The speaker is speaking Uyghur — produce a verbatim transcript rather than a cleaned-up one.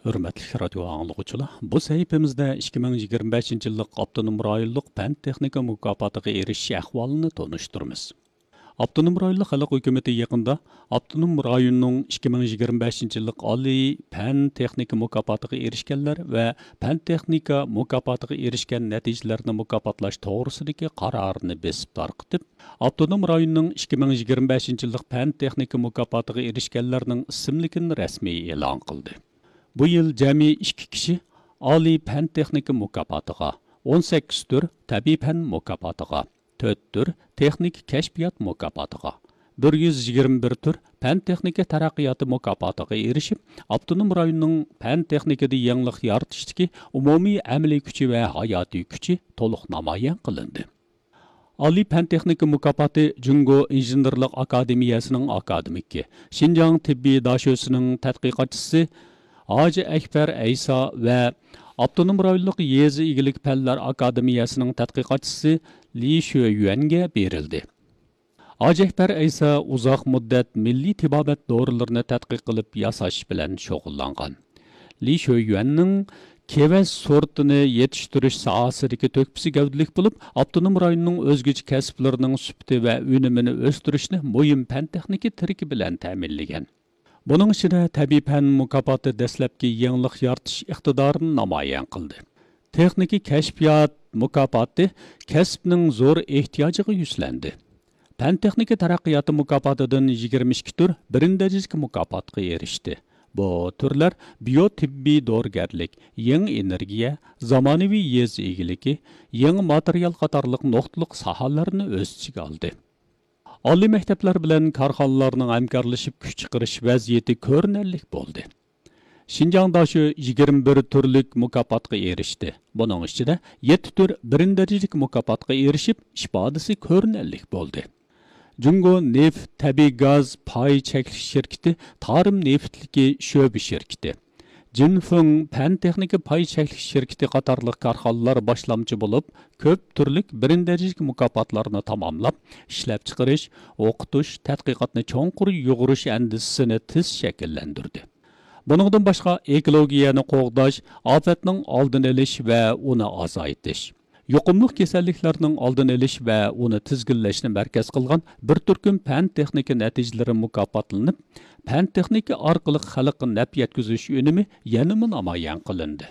ھۆرمەتلىك رادىيو ئاڭلىغۇچىلار، بۇ سەھىپىمىزدە ئىككى مىڭ يىگىرمە بەشىنچى يىللىق ئاپتونوم رايونلۇق پەن تېخنىكا مۇكاپاتىغا ئېرىشىش ئەھۋالىنى تونۇشتۇرىمىز. ئاپتونوم رايونلۇق خەلق ھۆكۈمىتى يېقىندا ئاپتونوم رايوننىڭ ئىككى مىڭ يىگىرمە بەشىنچى يىللىق ئالىي پەن تېخنىكا مۇكاپاتىغا ئېرىشكەنلەر ۋە پەن تېخنىكا مۇكاپاتىغا ئېرىشكەن نەتىجىلەرنى مۇكاپاتلاش توغرىسىدىكى قارارىنى بېسىپ تارقىتىپ، ئاپتونوم رايوننىڭ ئىككى مىڭ يىگىرمە بەشىنچى يىللىق پەن تېخنىكا مۇكاپاتىغا ئېرىشكەنلەرنىڭ ئىسىملىكىنى رەسمىي ئېلان قىلدى. بۇ يىل جەمئىي ئىككى كىشى ئالىي پەن تېخنىكا مۇكاپاتىغا، ئون سەككىز تۈر تەبىئىي پەن مۇكاپاتىغا، تۆت تۈر تېخنىكا كەشپىيات مۇكاپاتىغا، بىر يۈز يىگىرمە بىر تۈر پەن تېخنىكا تەرەققىياتى مۇكاپاتىغا ئېرىشىپ، ئاپتونوم رايوننىڭ پەن تېخنىكىدا يېڭىلىق يارىتىشتىكى ئومۇمىي ئەمەلىي كۈچى ۋە ھاياتىي كۈچى تولۇق نامايان قىلىندى. ئالىي پەن تېخنىكا مۇكاپاتى جۇڭگو ئىنژېنېرلىق ئاكادېمىيەسىنىڭ ئاكادېمىكى، شىنجاڭ تېببىي داشۆسىنىڭ تەتقىقاتچىسى ھاجى ئەكبەر ئەيسا ۋە ئاپتونوم رايونلۇق يېزا ئىگىلىك پەنلەر ئاكادېمىيەسىنىڭ تەتقىقاتچىسى لى شۆيۈەنگە بېرىلدى. ھاجى ئەكبەر ئەيسا ئۇزاق مۇددەت مىللىي تېبابەت دورىلىرىنى تەتقىق قىلىپ ياساش بىلەن شۇغۇللانغان. لى شۆيۈەننىڭ كېۋەز سورتىنى يېتىشتۈرۈش ساھەسىدىكى تۆھپىسى گەۋدىلىك بولۇپ، ئاپتونوم رايوننىڭ ئۆزگىچە كەسىپلىرىنىڭ سۈپىتى ۋە ئۈنۈمىنى ئۆستۈرۈشنى مۇھىم پەن تېخنىكا تىرىكى بىلەن تەمىنلىگەن. بۇنىڭ ئىچىدە تەبىئىي پەن مۇكاپاتى دەسلەپكى يېڭىلىق يارىتىش ئىقتىدارىنى نامايان قىلدى. تېخنىكا كەشپىيات مۇكاپاتى كەسىپنىڭ زور ئېھتىياجىغا يۈزلەندى. پەن تېخنىكا تەرەققىياتى مۇكاپاتىدىن يىگىرمە ئىككى تۈر بىرىنچى دەرىجىلىك مۇكاپاتقا ئېرىشتى. بۇ تۈرلەر بىيو تېببىي دورىگەرلىك، يېڭى ئېنېرگىيە، زامانىۋى يېزا ئىگىلىكى، يېڭى ماتېرىيال قاتارلىق نۇقتىلىق ساھەلەرنى ئۆز ئىچىگە ئالدى. ئالىي مەكتەپلەر بىلەن كارخانىلارنىڭ ھەمكارلىشىپ كۈچ چىقىرىش ۋەزىيىتى كۆرۈنەرلىك بولدى. شىنجاڭ داشۆ يىگىرمە بىر تۈرلۈك مۇكاپاتقا ئېرىشتى. بۇنىڭ ئىچىدە يەتتە تۈر بىرىنچى دەرىجىلىك مۇكاپاتقا ئېرىشىپ، ئىپادىسى كۆرۈنەرلىك بولدى. جۇڭگو نېفىت تەبىئىي گاز پاي چەكلىك شىركىتى تارىم نېفىتلىكى شۆبە شىركىتى، جىنفېڭ پەن تېخنىكا پاي چەكلىك شىركىتى قاتارلىق كارخانىلار باشلامچى بولۇپ، كۆپ تۈرلۈك بىرىنچى دەرىجىلىك مۇكاپاتلارنى تاماملاپ، ئىشلەپچىقىرىش، ئوقۇتۇش، تەتقىقاتنى چوڭقۇر يۇغۇرۇش ئەندىزىسىنى تېز شەكىللەندۈردى. بۇنىڭدىن باشقا، ئېكولوگىيەنى قوغداش، ئاپەتنىڭ ئالدىنى ئېلىش ۋە ئۇنى ئازايتىش، يۇقۇملۇق كېسەللىكلەرنىڭ ئالدىنى ئېلىش ۋە ئۇنى تىزگىنلەشنى مەركەز قىلغان بىر تۈركۈم پەن تېخنىكا نەتىجىلىرى مۇكاپاتلىنىپ، پەن تېخنىكا ئارقىلىق خەلققە نەپ يەتكۈزۈش ئۈنۈمى يەنىمۇ نامايان قىلىندى.